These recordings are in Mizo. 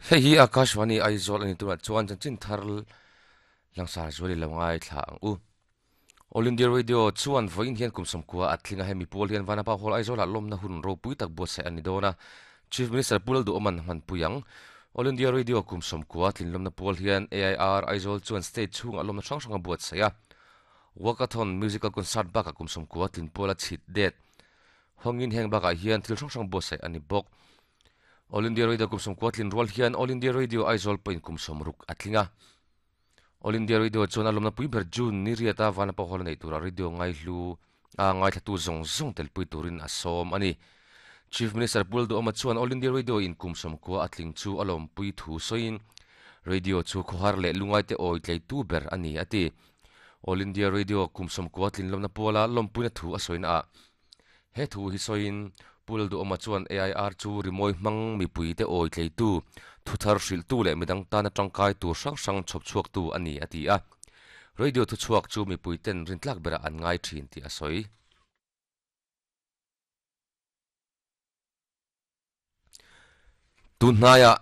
Hei hi Akashvani Aizawl a ni tunah chuan chanchin thar langsar zual i lo ngaithla ang u. All India Radio chuan vawiin hian kum sawmkua a tling a, hemi pawl hian Vanapa Hall Aizawlah lawmna hun ropui tak buatsaih a ni dawn a, Chief Minister Pu Lalduhawman hmanpui ang. All India Radio kum sawmkua tlinlawmna pawl hian AIR Aizawl chuan state chhungah lawmna hrang hrang a buatsaih a, Walkathon Musical Concert bakah kum sawmkua tlin pawla chhit det hawngin heng bakah hian thil hrang hrang buatsaih a ni bawk. All India Radio kum 90 tlin rual hian All India Radio Aizawl pawhin kum 60 a tling a. All India Radio chuan a lawmna pui ber June ni riata Vanapa Hall a neih turah radio ngaihlu a ngaithlatu zawng zawng telpui turin a sawm a ni. Chief Minister Pu Lalduhawma chuan All India Radio in kum 90 a tling chu a lawmpui thu sawiin radio chu khawhar leh lungaite awi tleitu ber a ni a ti. All India Radio kum 90 tlin lawmna puala lawmpuina thu a sawina ah He thu hi sawiin Pu Lalduhawma chuan AIR chu rimawi hmang mipuite awi tleitu, thuthar hrilhtu leh midang tana tangkai tur hrang hrang chhawp chhuaktu a ni a ti a. Radio thuchhuak chu mipuiten rintlak berah an ngai thin tih a sawi. Tun hnaiah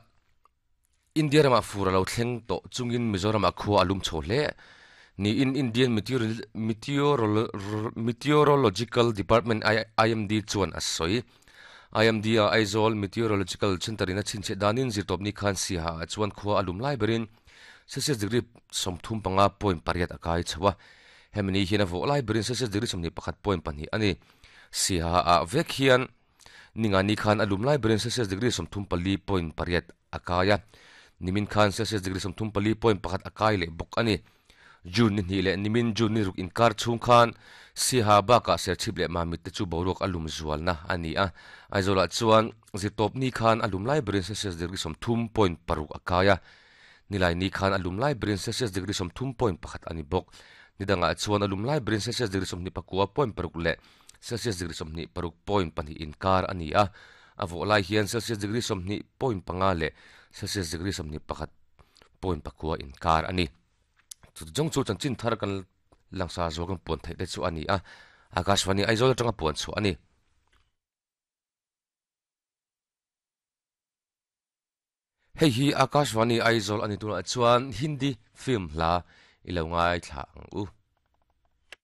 India ramah fur a lo thleng tawh chungin Mizoramah khua a lum chho hle niin Indian Meteorological Department IMD chuan a sawi. IMD a Aizawl Meteorological Centre in a chhinchhiah danin zirtawpni khan Siaha ah chuan khua a lum lai berin Celsius degree 35.8 a kai chho a. Hemi ni hian a vawh lai berin Celsius degree 21.2 a ni. Siaha ah vek hian Ningani khan a lum lai berin Celsius degree 34.8 a kai a, nimin khan Celsius degree 34.1 a kai leh bawk a ni. June ni hnih leh nimin June ni ruk inkar chhung khan Siaha bakah Serchhip leh Mamit te chu boruak a lum zualna a ni a. Aizawlah chuan zirtawpni khan a lum lai berin Celsius degree 30.6 a kai a, Nilaini khan a lum lai berin Celsius degree 30.1 a ni bawk. Nidangah chuan a lum lai berin Celsius degree 29.6 leh Celsius degree 26.2 inkar a ni a, a vawh lai hian Celsius degree 20.5 leh Celsius degree 21.9 inkar a ni. Chuti zawng chu chanchin thar kan langsar zual kan puan theih te chu a ni a, Akashvani Aizawl atanga puan chhuah a ni. Hei hi Akashvani Aizawl a ni tunah chuan Hindi film hla i lo ngaithla ang u.